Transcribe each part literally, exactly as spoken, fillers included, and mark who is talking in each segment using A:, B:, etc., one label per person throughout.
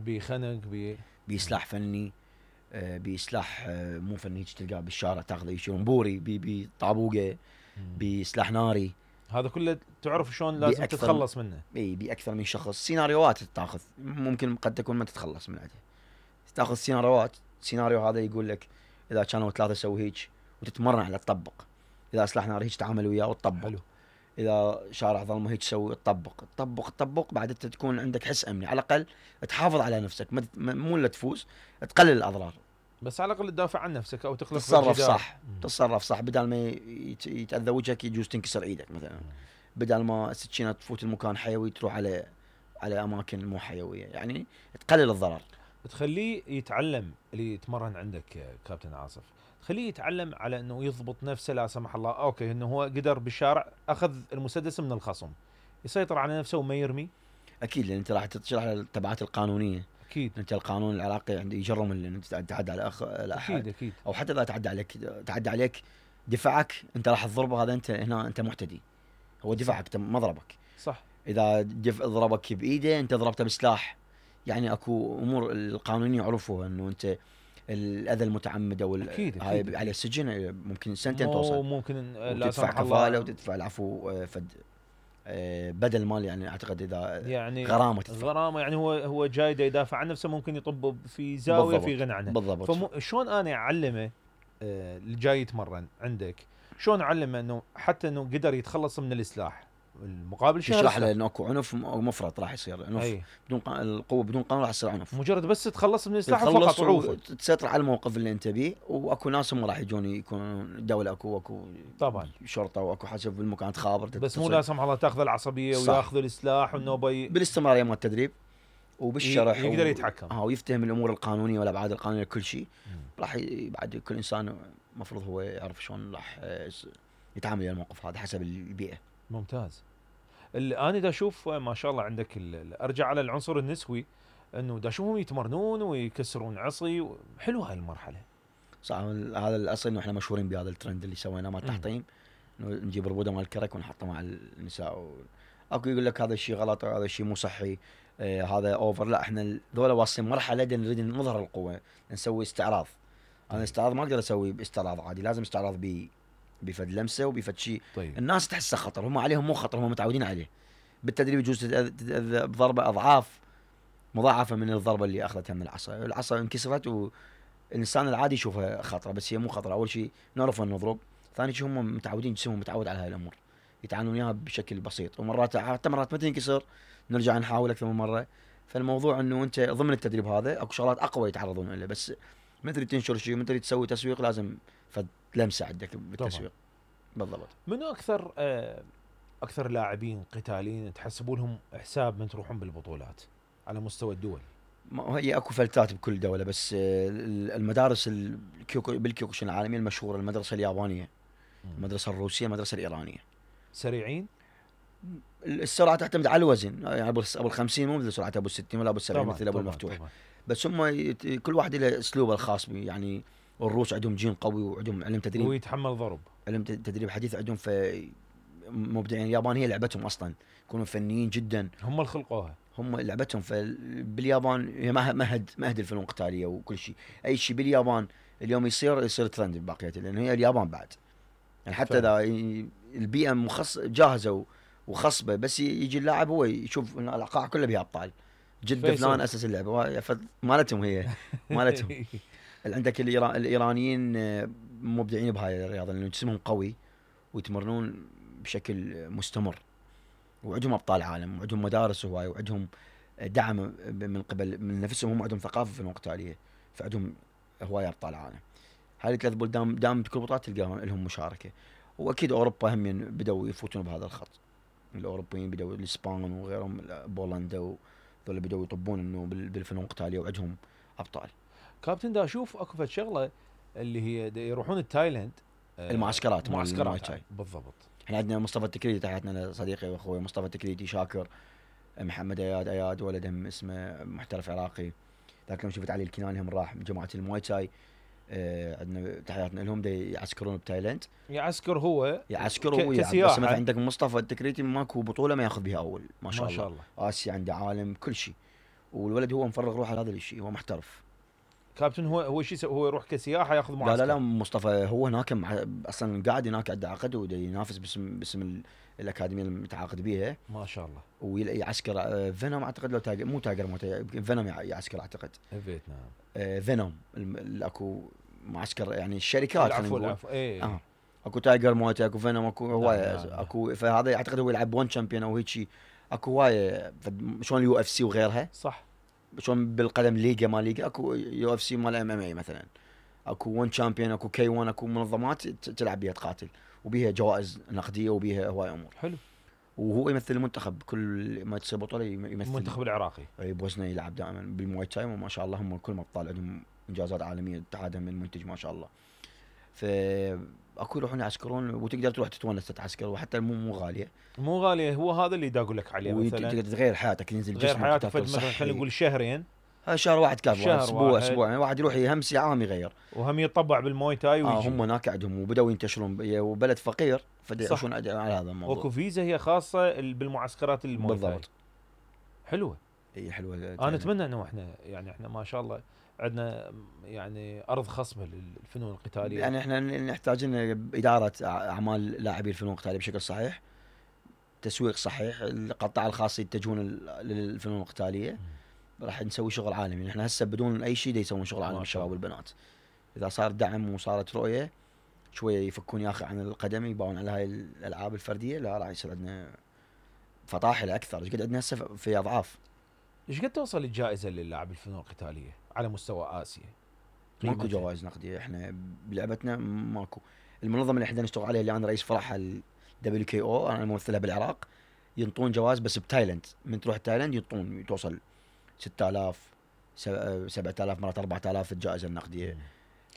A: بخنق بي
B: بسلاح فني، آه بسلاح آه مو فني تلقاه بالشارع تاخذه يشيلون بوري بي بطابوقه بسلاح ناري.
A: هذا كله تعرف شلون لازم تتخلص منه.
B: اي باكثر من شخص. سيناريوهات تاخذ ممكن قد تكون ما تتخلص من عندها، تاخذ سيناريوهات. سيناريو هذا يقول لك اذا كانوا ثلاثه سوي هيك وتتمرن على تطبق، اذا سلاح ناري هيك تعامل وياه وتطبق. حلو. اذا شارع ظلمه هيك تسوي تطبق تطبق تطبق بعد انت تكون عندك حس امني على الاقل تحافظ على نفسك، مو الا تفوز تقلل الاضرار،
A: بس على الاقل تدافع عن نفسك او تخلق
B: تتصرف صح. تتصرف صح بدل ما يتاذى وجهك يجوز تنكسر ايدك مثلا، بدل ما السكينه تفوت المكان حيوي تروح على على اماكن مو حيويه، يعني تقلل الضرر.
A: تخليه يتعلم اللي يتمرن عندك كابتن عاصف، تخليه يتعلم على انه يضبط نفسه لا سمح الله. اوكي انه هو قدر بالشارع اخذ المسدس من الخصم، يسيطر على نفسه وما يرمي.
B: اكيد لان انت راح تشرح التبعات القانونيه.
A: اكيد
B: انت القانون العراقي عنده يجرم ان انت تعدى على اخ الاحد.
A: اكيد اكيد.
B: او حتى اذا تعدى عليك تعدى عليك دفاعك انت راح تضربه، هذا انت هنا انت معتدي، هو دفاعك ما ضربك.
A: صح.
B: اذا دف ضربك بايده انت ضربته بسلاح، يعني اكو امور القانونيه يعرفوها انه انت الاذى المتعمد او هاي على السجن ممكن سنتين توصل.
A: ممكن
B: لا تدفع كفاله وتدفع العفو فد بدل مال، يعني اعتقد اذا
A: يعني
B: غرامه تدفع.
A: غرامه يعني هو هو جاي يدافع عن نفسه ممكن يطب في زاويه في غنى عنه.
B: بالضبط.
A: فشلون انا اعلمه آه اللي جاي يتمرن عندك، شلون اعلمه انه حتى انه قدر يتخلص من السلاح المقابل شهر؟
B: تشرح له انه اكو عنف مفرط راح يصير عنف أي. بدون ق... القوه بدون قانون راح يصير عنف.
A: مجرد بس تتخلص من السلاح فقط وعوفه
B: تسيطر على الموقف اللي انت بيه. واكو ناس هم راح يجون يكونون الدوله اكو اكو
A: طبعا
B: شرطه واكو حسب المكان تخابر
A: بس مو لا سمح الله تاخذ العصبيه وياخذ السلاح والنوبه ي...
B: بالاستمراريه مال التدريب وبالشرح
A: يقدر يتحكم
B: اه ويفتهم الامور القانونيه والابعاد القانونيه كل شيء. راح ي... بعد كل انسان المفروض هو يعرف شلون راح يتعامل مع الموقف هذا حسب البيئه.
A: ممتاز. انا دا اشوف ما شاء الله عندك ارجع على العنصر النسوي، انه دا اشوفهم يتمرنون ويكسرون عصي. حلو هاي المرحله
B: صح. هذا الاصل انه احنا مشهورين بهذا الترند اللي سويناه مال التحطيم، انه نجيب ربوده مال الكرك ونحطه مع النساء و... اكو يقول لك هذا الشيء غلط هذا الشيء مو صحي آه هذا اوفر. لا احنا ذولا واصلين مرحله نريد نظهر القوه، نسوي استعراض. انا استعراض ما اقدر اسوي باستعراض عادي، لازم استعراض ب بفد لمسه وبفد شيء
A: طيب.
B: الناس تحسه خطر، هم عليهم مو خطر، هم متعودين عليه. بالتدريب يجوز تتأذى بضربه اضعاف مضاعفه من الضربه اللي اخذتها من العصا. العصا انكسرت والانسان العادي يشوفها خطره، بس هي مو خطره. اول شيء نعرف ان نضرب، ثاني شيء هم متعودين جسمهم متعود على هاي الامور، يتعاملون وياها بشكل بسيط. ومرات حتى مرات ما تنكسر نرجع نحاول اكثر من مره. فالموضوع انه انت ضمن التدريب هذا اكو شغلات اقوى يتعرضون لها، بس ما تريد تنشر شيء ما تريد تسوي تسويق لازم لمسه عندك بالتسويق. بالضبط.
A: منو اكثر آه اكثر لاعبين قتاليين تحسبوا لهم حساب من تروحون بالبطولات على مستوى الدول؟
B: ما هي اكو فلتات بكل دوله، بس المدارس الكيوكو بالكيوكوشن العالميه المشهوره المدرسه اليابانيه، المدرسه الروسيه، المدرسه الايرانيه.
A: سريعين؟
B: السرعه تعتمد على الوزن، يعني ابو الخمسين مو مثل سرعه ابو الستين ولا ابو السبعين مثل ابو المفتوح. طبعًا. بس هم كل واحد له اسلوبه الخاص به. يعني الروس عندهم جين قوي وعندهم علم تدريب
A: ويتحمل ضرب،
B: علم تدريب حديث عندهم. في مبدعين. اليابان هي لعبتهم اصلا، يكونوا فنيين جدا،
A: هم اللي خلقوها،
B: هم لعبتهم. فباليابان هي مهد مهد الفنون القتاليه وكل شيء. اي شيء باليابان اليوم يصير يصير ترند بباقيته، لانه هي اليابان بعد. يعني حتى اذا البيئه مخص جاهزه وخصبه، بس يجي اللاعب هو يشوف ان القاع كله بها ابطال. جده فلان اسس اللعبه مالتهم، هي مالتهم. عندك الإيران الايرانيين مبدعين بهاي الرياضه، لانه جسمهم قوي ويتمرنون بشكل مستمر، وعندهم ابطال عالم وعندهم مدارس هواي وعندهم دعم من قبل من نفسهم. هم عندهم ثقافه فنون قتاليه، فعندهم هواي ابطال عالم. هاي الثلاث بلدان دام بكل بطولات تلقاهم لهم مشاركه. واكيد اوروبا هم بدأوا يفوتون بهذا الخط. الاوروبيين بدأوا الاسبان وغيرهم بولندا وذول بدأوا يطبون انه بالفنون القتاليه وعندهم ابطال.
A: كابتن دا اشوف اكو فد شغله اللي هي يروحون التايلاند
B: المعسكرات
A: معسكرات بالضبط.
B: احنا عندنا مصطفى التكريدي، تحياتنا لصديقي واخوي مصطفى التكريدي، شاكر، محمد اياد اياد ولدهم اسمه محترف عراقي. ذاك يوم شفت علي الكناني هم راح بجماعه المواي تاي. آه عندنا تحياتنا لهم دي يعسكرون بتايلاند.
A: يعسكر هو
B: يعسكر هو ك... بس مثلا عندك مصطفى التكريدي ماكو بطوله ما ياخذ بها اول. ما شاء, ما شاء الله. الله اسيا عنده عالم كل شيء، والولد هو مفرغ روحه لهذا الشيء، هو محترف.
A: كابتن هو هو شو يسوي؟ هو يروح كسياحه ياخذ معسكر؟
B: لا لا لا مصطفى هو هناك مع... اصلا قاعد هناك عنده عقد وينافس باسم باسم ال... الاكاديميه المتعاقد بيها.
A: ما شاء الله.
B: ويعسكر آه، فينوم اعتقد، لو تاجر مو تاجر مو تاجر فينوم يعسكر اعتقد.
A: فيتنام.
B: آه فينوم ال- اكو معسكر يعني الشركات.
A: العفو العفو ايه.
B: اه اكو تايجر موت، اكو فينوم، اكو هوايه.
A: نعم نعم.
B: اكو فهذا اعتقد هو يلعب ون شامبيون او هيك شيء. اكو هوايه فد- شلون اليو اف سي وغيرها،
A: صح.
B: شلون بالقدم ليجا ما ليجا، اكو يو اف سي مال ام ام اي مثلا، اكو ون شامبيون، اكو كي ون، اكو منظمات ت- تلعب بيها تقاتل وبيها جوائز نقديه وبيها هواي امور.
A: حلو.
B: وهو يمثل المنتخب كل ما تصير بطوله يم- يمثل
A: المنتخب العراقي.
B: اي بوزنه يلعب دائما بالمواي تاي، وما شاء الله هم كلهم ابطال، عندهم انجازات عالميه اتحادهم من المنتج ما شاء الله. ف اكو يروحون يعسكرون وتقدر تروح تتونس تتعسكر، وحتى مو مو غاليه،
A: مو غاليه. هو هذا اللي دا اقول لك عليه مثلا.
B: وتقدر تغير حياتك، ينزل
A: غير
B: جسمك
A: حياتك فد
B: تاكل
A: مثلا خلينا
B: صحي.
A: نقول شهرين.
B: هذا شهر واحد كافي،
A: شهر
B: اسبوع
A: واحد.
B: اسبوع يعني واحد يروح يهمس عام يغير.
A: وهم يطبع بالموي تاي
B: اه
A: ويجي.
B: هم هناك عندهم وبداوا ينتشرون ب- وبلد فقير
A: صح.
B: فيعيشون على هذا الموضوع.
A: واكو فيزا هي خاصه ال- بالمعسكرات الموي تاي.
B: بالضبط.
A: حلوه.
B: اي حلوه.
A: انا اتمنى انه احنا يعني احنا ما شاء الله عندنا يعني ارض خصبه للفنون القتاليه.
B: يعني احنا نحتاج ان اداره اعمال لاعبي الفنون القتاليه بشكل صحيح، تسويق صحيح، القطاع الخاص يتجهون لل- للفنون القتاليه، راح نسوي شغل عالمي. احنا هسه بدون اي شيء دا يسوون شغل عالمي
A: ما شاء
B: الشباب
A: الله.
B: والبنات. اذا صار دعم وصارت رؤيه شويه يفكون يا اخي عن القدم، يباون على هاي الالعاب الفرديه، لا راح يصير عندنا فطاحل اكثر. ايش قد عندنا هسه في اضعاف.
A: ايش قد توصل الجائزه للاعب الفنون القتاليه على مستوى اسيا؟
B: ماكو
A: قيمتها؟
B: جوائز نقديه احنا بلعبتنا ماكو. المنظمه اللي احنا نشتغل عليها اللي انا رئيس فرعها الدبليو كي او، انا ممثلها بالعراق، ينطون جوائز بس بتايلند. من تروح تايلند ينطون توصل ستة آلاف سبعة آلاف مرات أربعة آلاف الجائزه النقديه.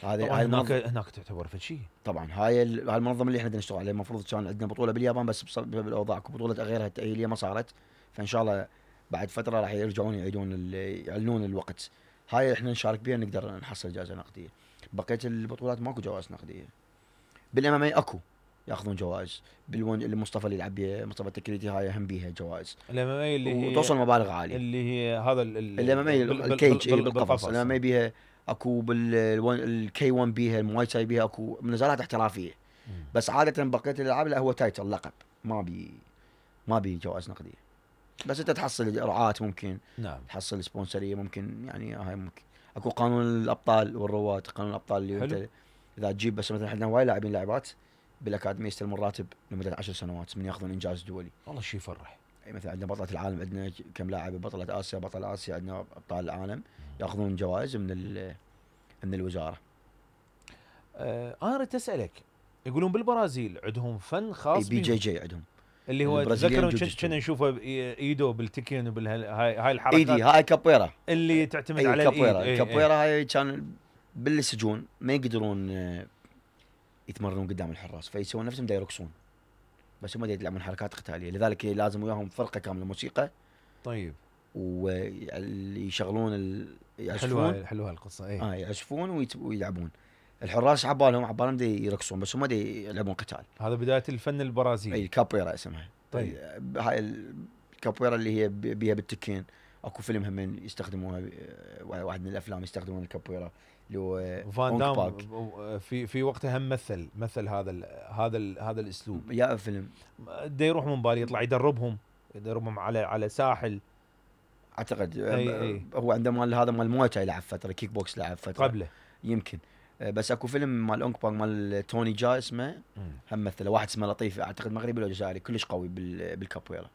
B: هذه
A: طبعا
B: هاي
A: هناك
B: المنظ-
A: هناك تعتبر فد شيء.
B: طبعا هاي ال- هاي المنظمه اللي احنا بدنا نشتغل عليها. المفروض كان عندنا بطوله باليابان بس بسبب الاوضاع اكو بطوله غيرها التاهيليه ما صارت، فان شاء الله بعد فتره راح يرجعون يعيدون ال- يعلنون الوقت. هاي احنا نشارك بها نقدر نحصل جائزه نقديه. بقيه البطولات ماكو جوائز نقديه. بالام ام اي اكو ياخذون جوائز، بالون اللي مصطفى اللي يلعب بيها مصطفى التكريتي هاي هم بيها جوائز
A: الام ام اي اللي هي
B: وتوصل مبالغ عاليه.
A: اللي هي هذا ال- ال-
B: الام ام اي
A: بال- بال-
B: الكيج
A: بال-
B: اي بالقفص.
A: بالقفص.
B: الام ام اي بيها اكو بالكي ون بيها، المواي تاي بيها، اكو نزالات احترافيه.
A: مم.
B: بس عاده بقيه الالعاب لا هو تايتل لقب، ما بي ما بي جوائز نقديه. بس انت تحصل رعاة، ممكن
A: نعم.
B: تحصل سبونسريه، ممكن يعني هاي ممكن. اكو قانون الابطال والرواد، قانون الابطال اللي
A: حلو.
B: انت اذا تجيب بس مثلا عندنا هواي لاعبين لاعبات بالاكاديميه يستلمون راتب لمده عشر سنوات من ياخذون انجاز دولي.
A: والله شيء يفرح.
B: يعني مثلا عندنا بطلة العالم، عندنا كم لاعب بطلة اسيا، بطل اسيا، عندنا ابطال العالم ياخذون جوائز من ال- من الوزاره.
A: آه انا اريد اسالك، يقولون بالبرازيل عندهم فن خاص
B: اي بي جي
A: بيهم،
B: جي عندهم
A: اللي هو
B: البرازيليان
A: تذكروا
B: جوجيتسو.
A: كنا نشوفه بايدو بالتكين وبالهاي هاي الحركات
B: ايدي هاي كابويرا.
A: اللي تعتمد
B: اي
A: على
B: كابويرا.
A: الايد. إي، إي.
B: الكابويرا هاي كان بالسجون ما يقدرون آه، يتمرنون قدام الحراس، فيسوون نفسهم دا يرقصون، بس هم دا يلعبون حركات قتاليه، لذلك لازم وياهم فرقه كامله موسيقى
A: طيب
B: ويشغلون ال...
A: حلوه
B: يعزفون.
A: حلوه القصه. اي
B: اه يعزفون ويت- ويلعبون. الحراس عبالهم عبالهم دا يرقصون بس هم دا يلعبون قتال.
A: هذا بدايه الفن البرازيلي.
B: اي كابويرا اسمها.
A: طيب.
B: هاي الكابويرا اللي هي ب- بيها بالتكين. اكو فيلم هم يستخدموها، آه، واحد من الافلام يستخدمون الكابويرا اللي هو
A: فان
B: أونك
A: دام
B: باك.
A: في في وقتها هم مثل مثل هذا ال هذا ال هذا الاسلوب.
B: يا فيلم
A: دا يروح من بالي يطلع يدربهم يدربهم على على ساحل
B: اعتقد
A: أي أي.
B: هو عنده مال هذا مال مويتاي لعب فتره، كيك بوكس لعب فتره
A: قبله.
B: يمكن. آه، بس اكو فيلم مال اونك باك مال توني جا اسمه،
A: مم.
B: هم مثله واحد اسمه لطيف اعتقد مغربي ولا جزائري كلش قوي بال- بالكابويرا.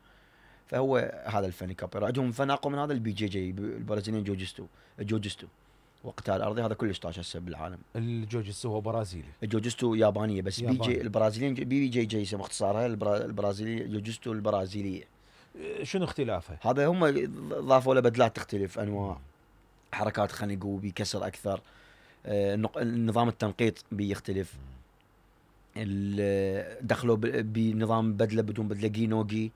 B: فهو هذا الفن الكابويرا. عندهم فن اقوى من هذا البي جي جي البرازيليين جوجستو. الجوجستو وقتال ارضي هذا كلش طاش هسه بالعالم.
A: الجوجيتسو هو برازيلي.
B: الجوجستو يابانيه بس بي
A: ياباني.
B: جي البرازيليين بي بي جي جي يسمى اختصارها البرا- البرازيلي جوجستو البرازيليه.
A: شنو اختلافها؟
B: هذا هم ضافوا له بدلات تختلف، انواع حركات خنق وبيكسر اكثر. آه، النق- النظام التنقيط بيختلف. ال- دخلوا ب- بنظام بدله بدون بدله جينوجي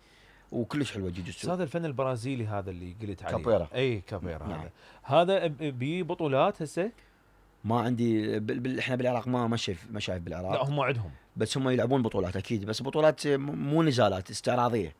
B: وكلش حلوه
A: بس
B: جوجوتسو.
A: هذا الفن البرازيلي هذا اللي قلت عليه
B: كابويرا.
A: اي كابويرا.
B: نعم.
A: هذا هذا بي بطولات هسه؟
B: ما عندي بال... بال... احنا بالعراق ما ما شايف ما شايف
A: لا
B: بالعراق.
A: هم عندهم.
B: بس هم يلعبون بطولات اكيد، بس بطولات م- مو نزالات استعراضيه.